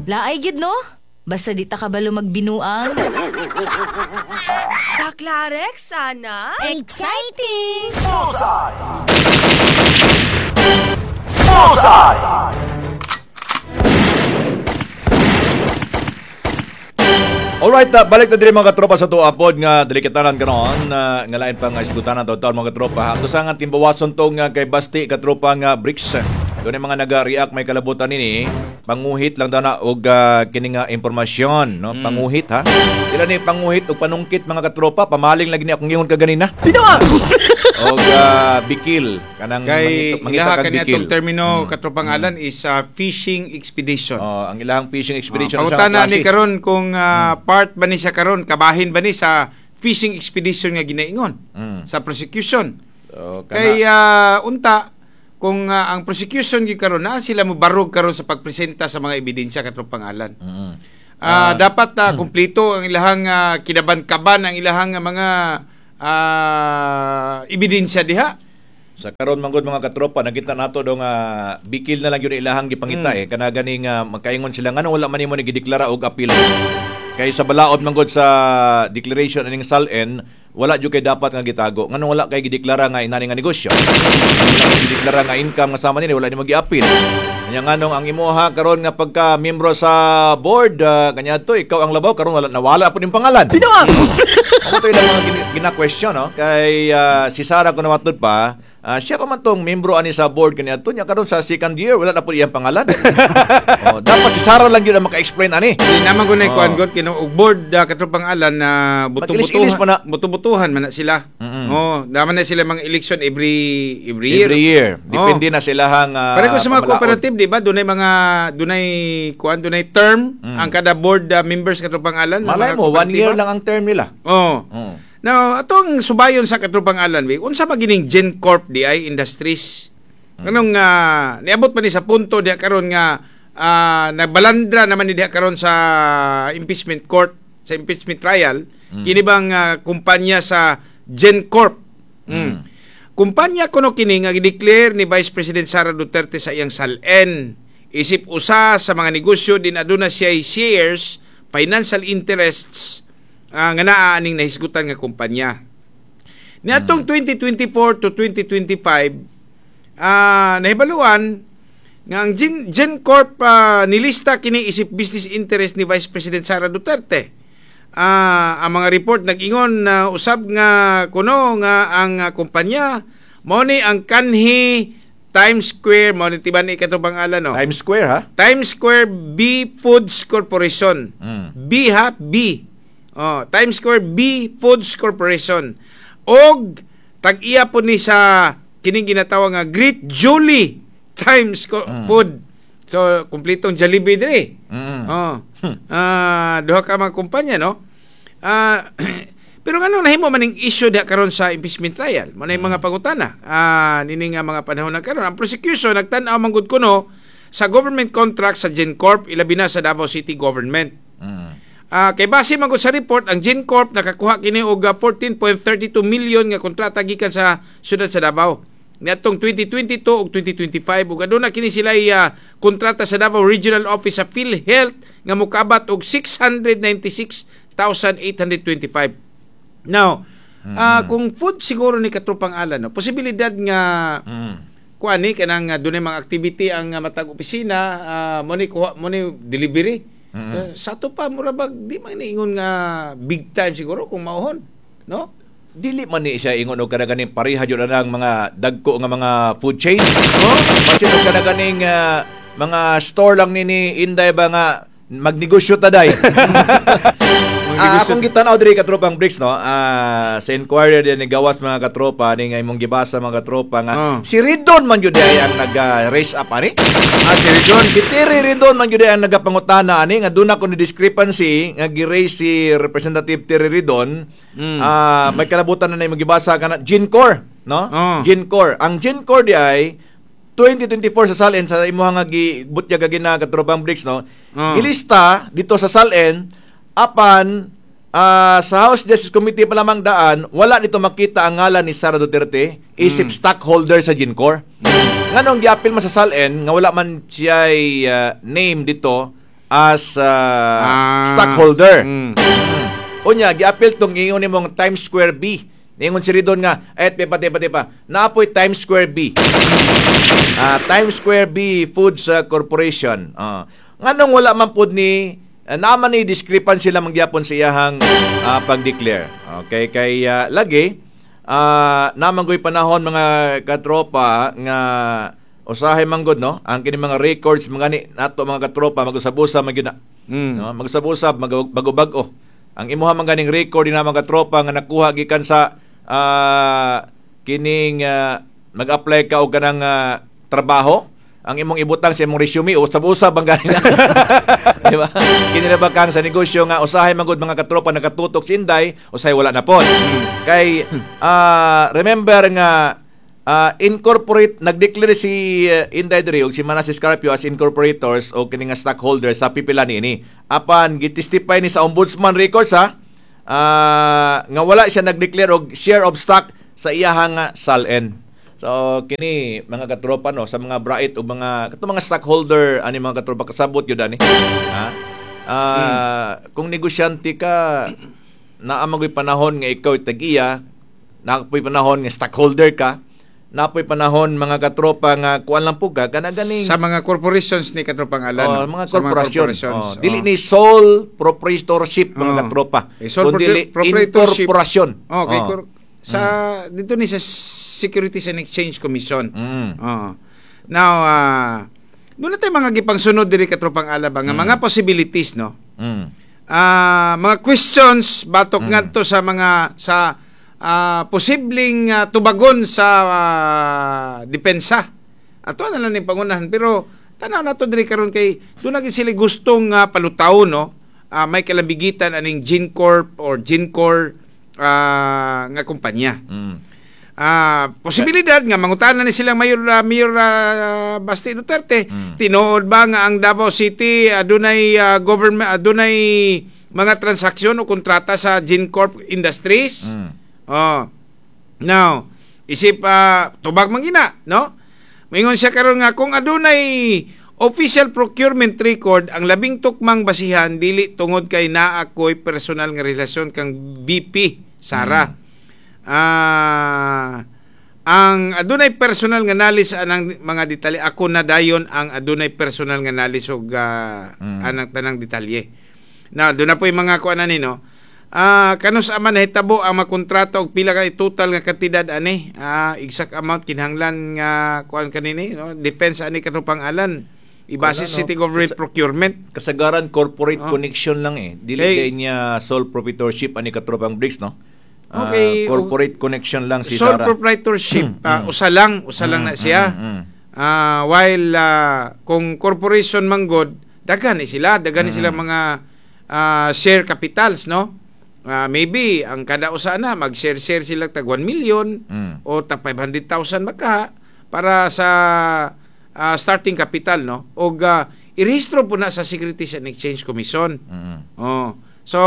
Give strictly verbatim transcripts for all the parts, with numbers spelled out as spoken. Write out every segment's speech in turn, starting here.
Laay gid no? Basta di ta kabalo magbinuang. Taklarex, sana? Exciting! Bullseye! Bullseye! Alright, uh, balik na diri mga katropa sa tuwa pod nga delikatanan karon uh, nga lain pa nga isgutanan taon mga katropa. Ato sa nga timbawason to nga kay Basti katropa nga Bricks. Doon yung mga naga-react may kalabutan nini, panguhit lang daw na og uh, kini nga impormasyon, no? Mm. Panguhit ha. Dila ni panguhit og panungkit mga katropa, pamaling lagi ni akong ingon kaganina. Pinoa. Og uh, bikil kanang Kay mangita, mangita ilaha kag kani bikil. atong termino katropang alan is uh, fishing expedition. Oh, ang ilahang fishing expedition Uh, siya nga pangutana ni klase. karon kung ah, part ba ni siya karon kabahin ba ni sa fishing expedition nga ginaingon Mm. sa prosecution. So, kana- Kay ah, unta kung ah, ang prosecution gyud karon na sila mobarog karon sa pagpresenta sa mga ebidensya katropang alan. Mm. Ah, dapat ah, kumpleto ang ilahang ah, kinaban-kaban ang ilahang ah, mga ah, ebidensya diha. Sa karon man gud mga katropa nakita nato do nga bikil na lang yun ilahang gipangita eh kana ganing uh, magkaingon sila ngano wala man nimo ni gideklara og appeal. Kay sa balaod man gud sa declaration aning SALN wala jud kay dapat nga gitago. Ngano wala kay gideklara nga inani nga negosyo. Wala kay gideklara nga income nga sama nini wala nimo gi-appeal. Nya nganong ang imuha karon nga pagka miyembro sa board uh, kanya to ikaw ang labaw karon wala nawala po ning pangalan. Pinoa. Ako to ilang mga gina- gina-question no kay ah, si Sara kuno matud pa ah, siya pa man tong miyembro ani sa board kanya to nya karon sa second year wala na po iyang pangalan. oh, dapat si Sara lang yun ang maka-explain ani. Di naman ko na Oh. kuan god kino og board uh, katropang alan na Mag-ilis-ilis buto-butuhan pa na. buto-butuhan man na sila. Mm-mm. Oh, daman na sila mga election every every year. Every year. Depende Oh. na sa ilahang ah, Pareho sa mga pamalaod. cooperative, di ba? Dunay mga dunay kuan dunay term Mm. ang kada board uh, members katropang alan. Malay mga mo, one year kooperatiba. lang ang term nila. Oh. Mm. Now, atong subayon sa katropang alan, wi, unsa ba gining GenCorp di ay Industries? Anong uh, niabot pa ni sa punto diha karon nga ah, nagbalandra naman ni diha karon sa impeachment court, sa impeachment trial, kini bang ah, kumpanya sa GenCorp. Mm. Kumpanya kuno kini nga gideclare ni Vice President Sara Duterte sa iyang SALN. Isip usa sa mga negosyo din aduna siya shares, financial interests ah, nga naa aning nahisgutan nga kumpanya. Niadtong twenty twenty-four to twenty twenty-five ah nahibaluan nga ang Gen, GenCorp ah, nilista kini isip business interest ni Vice President Sara Duterte. Ah, ang mga report nag-ingon na usab nga kuno nga ang ah, kumpanya mao ni ang kanhi Times Square, mao ni tiban ni katong alan no. Times Square ha? Times Square B Foods Corporation. Mm. B ha B. Oh, Times Square B Foods Corporation. Og tag-iya po ni sa kining ginatawag nga Great Julie Times Co- Food. So kumpletong Jollibee dire. Mm. Oh. Ah, duha ka mga kumpanya no. Ah, pero ngano nahimo man ning issue diha karon sa impeachment trial? Mo na yung mga pangutana. Ah, nini nga mga panahon na karon ang prosecution nagtan-aw man gud kuno sa government contract sa GenCorp ilabi na sa Davao City Government. Mm. Ah, kay base man gud sa report ang GenCorp nakakuha kini og ah, fourteen point three two million nga kontrata gikan sa syudad sa Davao. Niadtong twenty twenty-two ug twenty twenty-five ug aduna kini sila ah, kontrata sa Davao Regional Office sa PhilHealth nga mokabat og six hundred ninety-six thousand eight hundred twenty-five. Now, Mm. ah, kung food siguro ni katropang alan no, posibilidad nga Mm. kuan ni kanang uh, dunay mga activity ang uh, matag opisina uh, mo ni kuha mo ni delivery. Mm-mm. Uh, sa ato pa mura bag di man niingon nga big time siguro kung mauhon, no? Dili man ni siya ingon og kada ganing pareha jud ang mga dagko nga mga food chain. Oh, basin og kada ganing ah, mga store lang ni ni Inday ba nga magnegosyo ta day. Ah, akong gitan-aw diri katropang Bricks no. Ah, sa inquiry din ni gawas mga katropa ni nga imong gibasa mga katropa nga Oh. si Ridon man jud ay ang nag-raise up ani. Ah, si Ridon. Si Terry Ridon man jud ay ang nagapangutana ani nga doon ako ni discrepancy nga gi-raise si Representative Terry Ridon. Mm. Ah, may kalabutan na na imong gibasa kana Gincor, no? Oh. Gincor. Ang Gincor di ay twenty twenty-four sa SALN sa imuha nga gibutyag gina katropang Bricks no. Oh. Gilista dito sa SALN apan ah, sa House Justice Committee pa lamang daan wala dito makita ang ngalan ni Sara Duterte isip Mm. stockholder sa Gincor. Nganong giapil man sa SALN nga wala man siya name dito as uh, Ah. stockholder. Mm. Unya, giapil tong ingon nimong Times Square B. Ningon si Ridon nga, eh, tepa, tepa, tepa. Naapoy Times Square B. Ah, Times Square B Foods uh, Corporation. Ah. Nganong wala man pud ni uh, naman ni discrepancy lamang gyapon sa iyahang ah, pag-declare. Okay, kay ah, lagi ah naman goy panahon, mga katropa, nga usahay man gud, no, ang kini mga records mga ni nato, mga katropa, magusab-usab man gyud na. Mm. No, magsab-usab, mag- bago-bago. Ang imuha man ganing record din na, mga katropa, nga nakuha gikan sa ah, kining ah, mag-apply ka og kanang ah, trabaho, ang imong ibutang sa imong resume usab-usab ang ganing, di ba? Kini na ba kang sa negosyo nga usahay man gud, mga katropa, nakatutok si Inday, usahay wala na pod. Kay ah, remember nga ah, incorporate nagdeclare si uh, Inday diri ug si Manases Carpio as incorporators o kini nga stockholder sa pipila niini. Apan gitestify ni sa ombudsman records ha ah, nga wala siya nagdeclare og share of stock sa iyahang ah, SALN. So kini, mga katropa, no, sa mga bright o mga kato mga stockholder ani, mga katropa, kasabot yun ani. Ha? Ah, kung negosyante ka, naa man goy panahon nga ikaw tag-iya, naa poy panahon nga stockholder ka, naa poy panahon, mga katropa, nga kuan lang po ka kana ganing Sa mga corporations ni, katropang Alan. Oh, no? mga Sa korporasyon. corporations. Oh, dili Oh. ni sole proprietorship, mga Oh. katropa. Eh, sole Kundi proprietorship. incorporation. Oh, okay. Oh. Cor- sa dito ni sa Securities and Exchange Commission. Mm. Oo. Now, ah doon na tayo mga gipangsunod diri, katropang Alan, ba nga mga possibilities, no? Mm. Ah, mga questions batok ngadto sa mga sa ah, posibleng ah, tubagon sa ah, depensa. Ato na lang ning pangunahan, pero tanaw nato diri karon kay doon na gid sila gustong uh, palutaw, no. Ah, may kalambigitan aning Gincorp or Gincor ah, nga kumpanya. Mm. Ah, posibilidad nga mangutana ni silang Mayor ah, Mayor ah, Basti Duterte. Mm. Tinuod ba nga ang Davao City adunay ah, government adunay mga transaksyon o kontrata sa Gincorp Industries? Mm. Oh. Now, isip ah, tubag man gina, no? Moingon siya karon nga kung adunay official procurement record ang labing tukmang basihan, dili tungod kay naa ko'y personal nga relasyon kang V P Sara. Ah, ang adunay personal nga knowledge anang mga detalye, ako na dayon ang adunay personal nga knowledge og ah, Mm. anang tanang detalye. Na doon na po yung mga kuan ani, no. Ah, kanus ama nahitabo ang makontrata og pila ka total nga kantidad ani? Ah, exact amount kinahanglan nga kuan kanini, no? Defense ani, katropang Alan. Ibase Wala, no? city government procurement. Kasagaran corporate Oh. connection lang eh. Dili Hey. hey. niya sole proprietorship ani, katropang Bricks, no? Ah, Okay. corporate connection lang si Sole Sara. proprietorship, ah, usa lang, usa lang na siya. mm, mm. Ah, while ah, kung corporation manggod, daghan ni sila, daghan ni sila mga ah, share capitals, no? Ah, maybe ang kada usa na mag-share-share sila tag one million Mm. o tag five hundred thousand baka para sa ah, starting capital, no? Og ah, irehistro po na sa Securities and Exchange Commission. Mm. Oh. So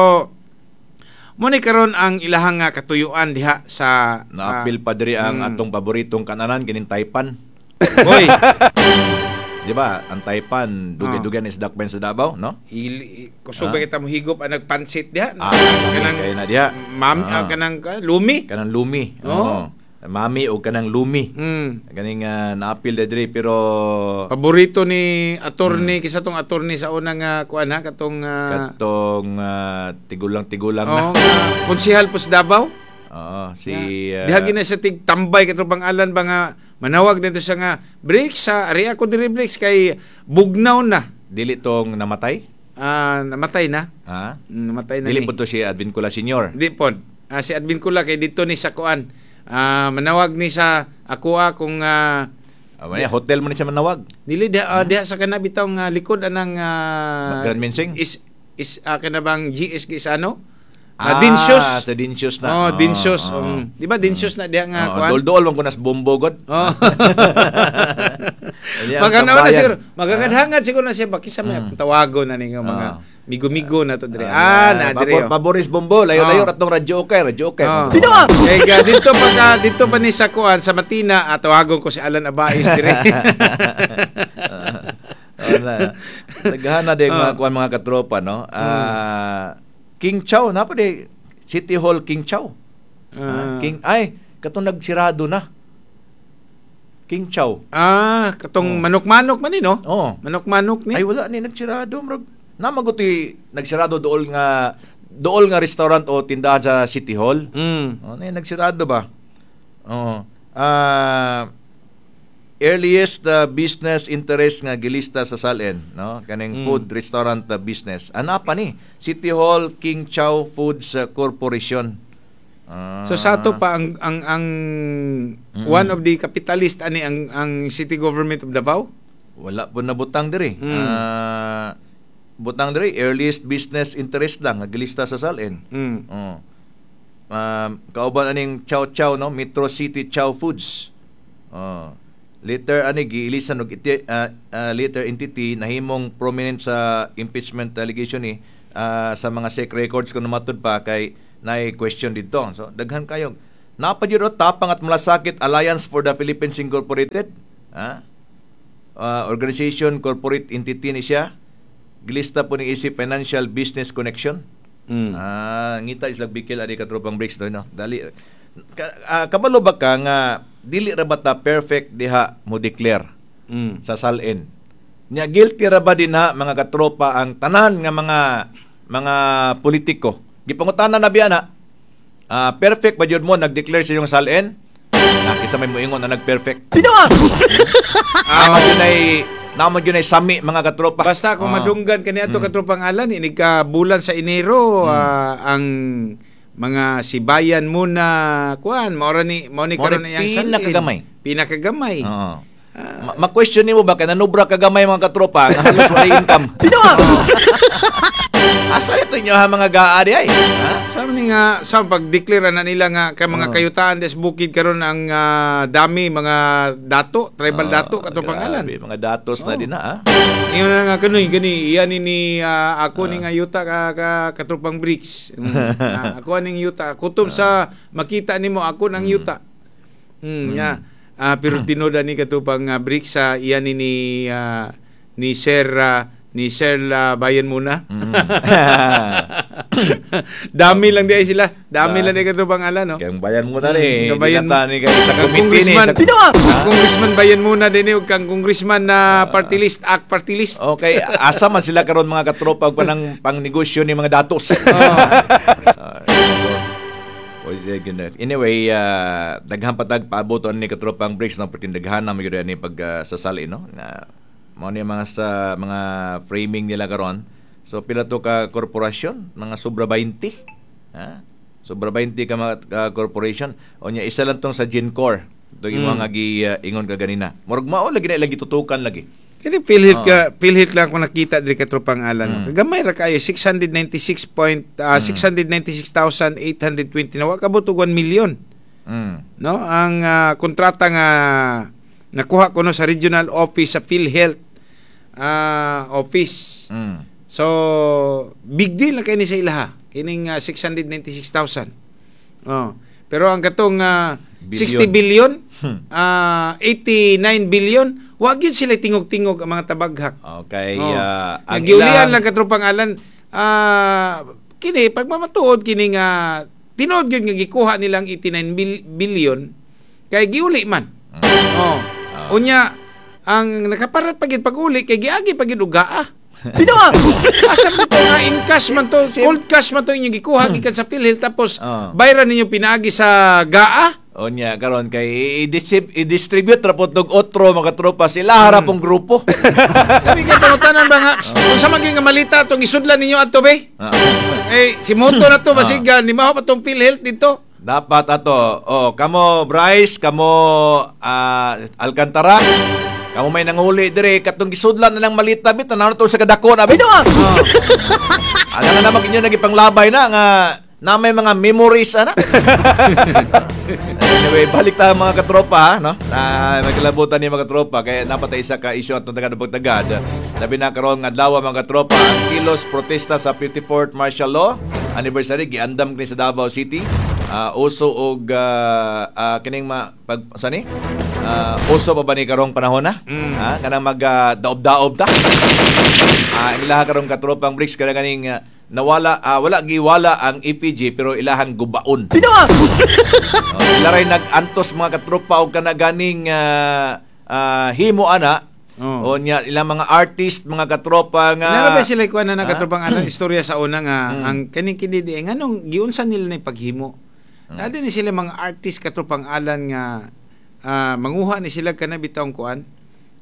mo ni karon ang ilahang nga katuyuan diha sa Naapil pa diri ang mm. atong paboritong kananan kining Taipan. Hoy, Di ba? Ang Taipan, dugay-dugay ni isdak sa Davao, no? hili, kusog ba kita mo higop ang nagpansit diha? Ah, kanang kay na diha. Mam, Ah. ah, kanang ah, lumi. Kanang lumi. Oo. Oo. Mami o kanang lumi. Mm. Ganing uh, naapil na diri pero Paborito ni attorney, kisa tong attorney sa unang uh, kuan ha, katong ah, katong ah, tigulang-tigulang na. oo, nga, konsehal po sa Davao. Oo, si ah, Diha gina sa tig tambay, katong Alan ba, nga manawag dito siya nga breaks sa ari ako diri, breaks kay bugnaw na. Dili tong namatay? Ah, namatay na. Ha? Mm, Namatay na Dili ni. po to si Advincula Senior. Di pod. Ah, si Advincula kay dito ni sa kuan. Ah, manawag ni sa ako kung ah, Ah, uh, hotel mo ni siya manawag. Dili diha ah, diha sa kana bitawng ah, likod anang ah, Grand Minsing? Is is uh, kana bang G S is ano? Ah, Dinsios. Sa Dinsios na. Oh, Dinsios. Oo. Um, di ba Dinsios na diha nga Oo, kuan? Dol-dol man ko nas bombo god. Oh. Iya, ang Maganaw na tambayan. Siguro. Magagadhangad siguro na siya bakisa may akong tawagon na ninyo mga Ah. migo-migo na to dire. Ah, na dire. Pabor, Oh. Paboris Bombo, layo-layo Oh. ratong radyo okay, radyo okay. Oh. Kay ga dito pa ka dito pa ni sa kuan sa Matina, ah, tawagon ko si Alan Abais dire. Oh, na. Daghan na din Oh. mga kuan mga katropa, no? Ah, King Chow, na pa di City Hall King Chow. Ah, Ah. King ay katong nagsirado na. King Chow. Ah, katong manok-manok man ni, no? Oh. Manok-manok ni. Ay, wala ni nagsirado murag. Namaguti nagsirado dool nga dool nga restaurant o tindahan sa City Hall. Mm. Oh, na nagsirado ba? Oo. Ah, earliest uh, business interest nga gilista sa S A L N, no? Kaning Mm. food restaurant uh, business. Ana pa ni City Hall King Chow Foods uh, Corporation. Ah. So sa ato pa ang ang ang one of the capitalist ani ang ang city government of Davao. Wala po na butang diri. Mm. Ah, butang diri earliest business interest lang nga gilista sa S A L N. Mm. Oh. Um, kauban aning Chow Chow, no, Metro City Chow Foods. Oh. Later ani giilisan og iti, ah, ah, later entity nahimong prominent sa impeachment allegation ni ah, sa mga S E C records kung matud pa kay naay question didto. So daghan kayo. Napa jud o Tapang at Malasakit Alliance for the Philippines Incorporated. Ha? Ah, organization corporate entity ni siya. Gilista po ni isip financial business connection. Mm. Ah, ngita islag bikil ani katropang breaks do, no. Dali ka, ah, kabalo ba ka nga dili ra ba ta perfect diha mo declare Mm. sa S A L N? Nya guilty ra ba din ha mga katropa ang tanan nga mga mga politiko? Gipangutana na biya na. Ah, perfect ba jud mo nag-declare sa inyong S A L N? Ah, kinsa may moingon na nag-perfect? Binoa! Namo gyud ay namo gyud ay sami, mga katropa. Basta kung Ah. madunggan kaniadto, katropang Alan, inig ka bulan sa Enero ah, ang mga sibayan muna kuan mao ra ni mao ni Mao karon ni iyang S A L N. pinakagamay. Pinakagamay. Oo. Ma- ma-question nimo ba kay nanubra kagamay, mga katropa, nga halos walay income? Binoa! Asa rito inyo ha mga G A A di ay? Ha? Sa ni nga sa pagdeklara na nila nga kay mga Oo. kayutaan des bukid karon ang ah, dami mga dato, tribal dato, katropang Ah, Alan. grabe, mga datos na Oo. din na ah. Ingon na nga kanoy gani iyan ni ni ah, ako ni nga yuta ka, ka katropang bricks. Mm. Ah, ako aning yuta. Kutob sa makita nimo ako nang yuta. Mm, nga. Ah, pero tinuod ani katropang uh, bricks sa iyan ni ni, ah, ni Sir ah, ni Sir ah, Bayan muna. Mm. Dami lang di ay sila. Dami Ah. lang di katropang Alan, no. Kaya ang bayan mo na rin. Mm, kabayan Dinata ni kay sa Kang committee ni. congressman, Sa, Binoa! kang congressman Bayan muna din ug kang congressman na party list, act party list. Okay, asa man sila karon, mga katropa, og panang pangnegosyo ni mga datos. Ah, anyway, uh, daghan patag paabot ani katropang breaks no pertindaghan na magyud ani pag uh, sasali, no. Na mao ni mga sa mga framing nila karon. So pila to ka korporasyon? Mga sobra twenty. Ha? Sobra twenty ka mga ka corporation. O nya isa lang tong sa Gencor. Ito yung Mm. mga gi uh, ingon ka ganina. Murag mao lagi na lagi tutukan lagi. Kini PhilHealth ka, PhilHealth lang ako nakita diri katropang Alan. Mm. Gamay ra kayo, six hundred ninety-six point ah, six hundred ninety-six thousand eight hundred twenty na wa kabot og one million. Mm. No? Ang ah, kontrata nga nakuha ko no sa regional office sa PhilHealth ah, office. Mm. So, big deal na kay ni sa ilaha. Kining ah, six hundred ninety-six thousand. Oh. Pero ang katong ah, sixty billion, Hmm. ah, eighty-nine billion, wa gyud sila tingog-tingog ang mga tabaghak. Okay, Oh. ah, ang Nagiulian ilang- lang, katropang Alan, ah, kini pagmamatuod kini nga tinuod gyud nga gikuha nilang eighty-nine bil- billion kay giuli man. Mm. Oh. Ah. Unya ang nakaparat pa gyud pag-uli kay giagi pa gyud og G A A. Binoa! Asa man to nga in cash man to, cold cash man to inyong gikuha gikan sa PhilHealth tapos Ah. bayran ninyo pinaagi sa G A A? Onya karon kay i-distrib- i-distribute ra po tog otro, mga tropa, sila harap pong grupo. Kami kay pangutanan ba nga, "Psst, unsa man gyud nga malita tong isudlan ninyo adto be?" Ah. Eh si Moto na to basig ah, ni maho pa tong PhilHealth dito. Dapat ato, oh, kamo Bryce, kamo ah, Alcantara, kamo may nanguli dire katong gisudlan na lang malita bit tanaw na to sa kadako na bit. Binoa! Ala nga naman inyo nagipanglabay na nga Na may mga memories ana. Anyway, balik tayo mga katropa, ha, no? Na may kalabutan ni mga katropa kaya napatay isa ka isyu atong tagad pagtagad. Labi na karon nga adlaw mga katropa, ang kilos protesta sa fifty-fourth martial law anniversary giandam kini sa Davao City. Uh, uso og uh, uh, kining ma pag sani? Uh, uso pa ba ni karong panahon na? Mm. Ha? Kanang mag uh, daob-daob ta. Ah, uh, ilaha karong katropang Bricks kada kaning uh, nawala uh, wala giwala ang E P G pero ilahang gubaon. Pinoa. uh, ila ray nag-antos mga katropa og kana ganing uh, uh, himo ana. Oh. O niya ilang mga artist mga katropa nga. Nara ba sila kuan na katropang ana istorya sa una nga mm. ang kaning kini di nganong giunsa nila ni paghimo. Mm. Naa ni sila mga artist katropang Alan nga uh, manguha ni sila kana bitawng kuan.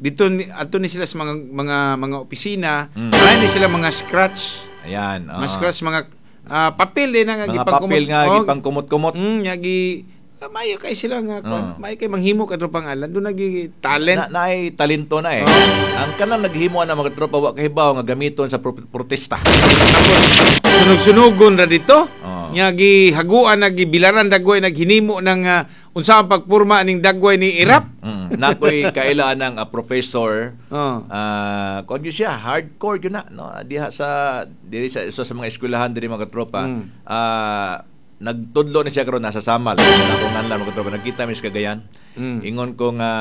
Dito adto ni sila sa mga mga mga opisina, mm. ni sila mga scratch. Ayan, uh, mga scratch mga uh, papel din nga mga papel nga oh, gipangkumot-kumot. Mm, nga gi uh, mayo kay sila nga kuan, uh. mayo kay manghimo katropang Alan, do nagi talent. Na, naay talento na eh. Uh. Ang kanang naghimo na mga tropa wa kahibaw nga gamiton sa pro- protesta. Tapos sunog-sunugon ra dito. Uh. Nga gihaguan nagibilaran dagway naghinimo ng uh, unsa ang pagpurma ning dagway ni Irap. Mm. Mm. Nakoy kailaan ng uh, professor. Oh. Uh, kuan gyud siya, hardcore gyud na no diha sa diri sa isa sa mga eskwelahan diri mga katropa. Mm. Uh, nagtudlo na siya karon nasa Samal. Ako nganlan mga katropa nagkita mi sa Cagayan. Mm. Ingon ko nga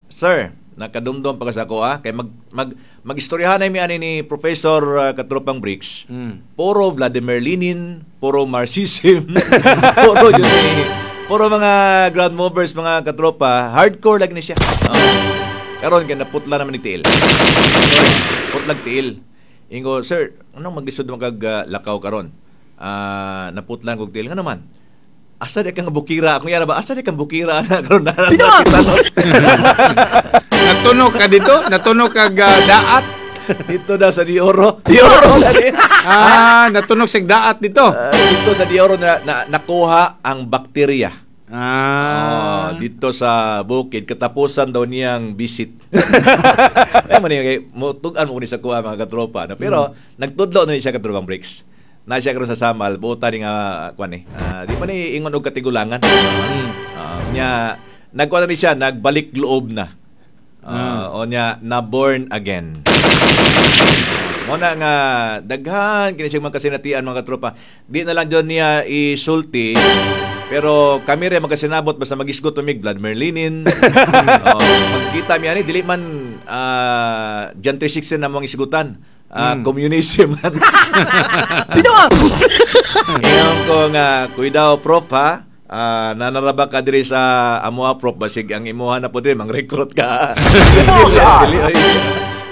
sir, nakadumdum pa ka sa ako ah kay mag mag magistoryahan mi ani ni Professor uh, Katropang Bricks. Mm. Puro Vladimir Lenin, puro Marxism, puro yun eh, puro mga ground movers mga katropa, hardcore lagi ni siya. Oh. Karon kay naputla naman ni tiil. Putlag tiil. Ingo, sir, anong maglisod man kag uh, lakaw karon? Ah, uh, naputlan kog tiil nga naman. Asa di kang bukira? Kung yara ba, asa di kang bukira na karon na kitanos. Natunog ka dito? Natunog ka uh, daat? Dito na sa Dioro. Dioro na din. Ah, natunog sa daat dito. Uh, dito sa Dioro na, na nakuha ang bakterya. Ah. Oh, dito sa bukid katapusan daw niyang visit. Ay man kay mutug-an mo ni sa kuha mga katropa no? Pero hmm. nagtudlo na siya katropang Bricks. Na siya karon sa Samal, buota ni nga kuan eh. Uh, di pa ni ingon og katigulangan. Mm. Uh, nya nagkuan na ni siya, nagbalik loob na. Uh, mm. O nya na born again. Mo na nga daghan kini siya mga kasinatian mga katropa. Di na lang jud niya isulti. Pero kami rin magkasinabot basta magisgot tumig Vladimir Lenin. Oh, magkita mi ani dili man uh, John three sixteen na mong isgutan. Uh, mm. Communism. Pinoa. Ingon ko nga kuidaw prof ha. Uh, nanaraba ka diri sa amoa prof basig ang imuha na po diri mang-recruit ka.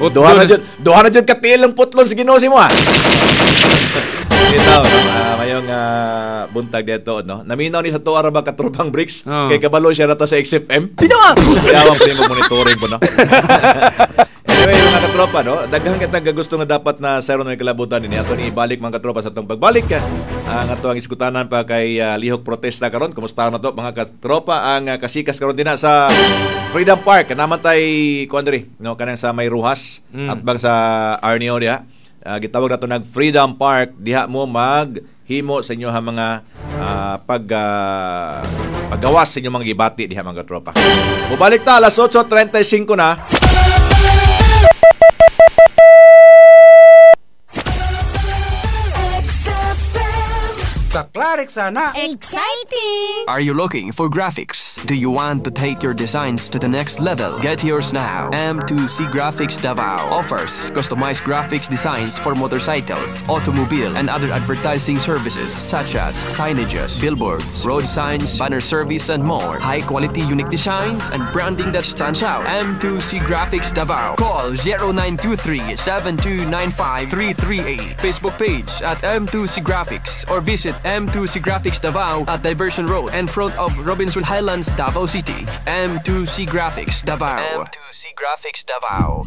Duha na jud, duha na jud katiil ang putlon sa Ginoo mo ha. Ito, uh, mayong uh, buntag dito no. Naminaw ni sa tuwa ra ba katropang Bricks oh. Kay kabalo siya rata sa X F M. Pinoa. Kaya ang primo monitoring po no. Anyway, mga katropa, no? Daghan kita gusto nga dapat na sa may kalabutan nini. Ato ni ibalik mga katropa sa atong pagbalik. Ang ato ang iskutanan pa kay uh, lihok protesta karon. Kumusta na to mga katropa ang uh, kasikas karon dinha sa Freedom Park. Naman tay kuan diri, no, kanang sa may Ruhas mm. at bang sa Arneo diha. Uh, gitawag nato nag Freedom Park diha mo maghimo sa inyo ha mga uh, pag uh, paggawas sa inyong mga gibati diha mga katropa. Mubalik ta alas otso trenta y singko na. Sana. Exciting! Are you looking for graphics? Do you want to take your designs to the next level? Get yours now. M two C Graphics Davao offers customized graphics designs for motorcycles, automobile, and other advertising services such as signages, billboards, road signs, banner service, and more. High quality, unique designs and branding that stands out. M two C Graphics Davao. Call zero nine two three, seven two nine five, three three eight. Facebook page at M two C Graphics or visit M two C Graphics Davao at Diversion Road in front of Robinson Highlands, Davao City. M two C Graphics Davao. M two C Graphics Davao.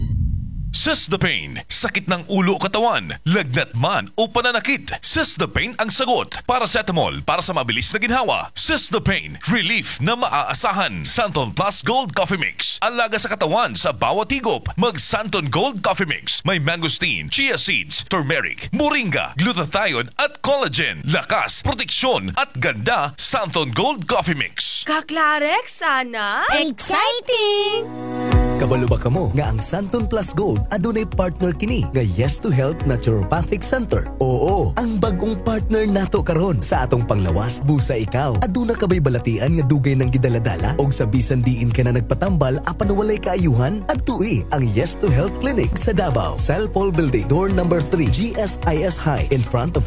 Sis the Pain, sakit ng ulo o katawan, lagnat man o pananakit. Sis the Pain ang sagot. Paracetamol para sa mabilis na ginhawa. Sis the Pain, relief na maaasahan. Santon Plus Gold Coffee Mix, alaga sa katawan sa bawat higop. Mag Santon Gold Coffee Mix, may mangosteen, chia seeds, turmeric, moringa, glutathione at collagen. Lakas, proteksyon at ganda, Santon Gold Coffee Mix. Kaklarex, sana? Exciting! Kabalo ba kamo nga ang Santon Plus Gold adunay partner kini nga Yes to Health Naturopathic Center? Oo, ang bagong partner nato karon sa atong panglawas busa ikaw. Aduna ka bay balatian nga dugay nang gidaladala og sa bisan diin ka na nagpatambal apan walay kaayuhan? Adtui ang Yes to Health Clinic sa Davao, Cell Building, door number three, G S I S High, in front of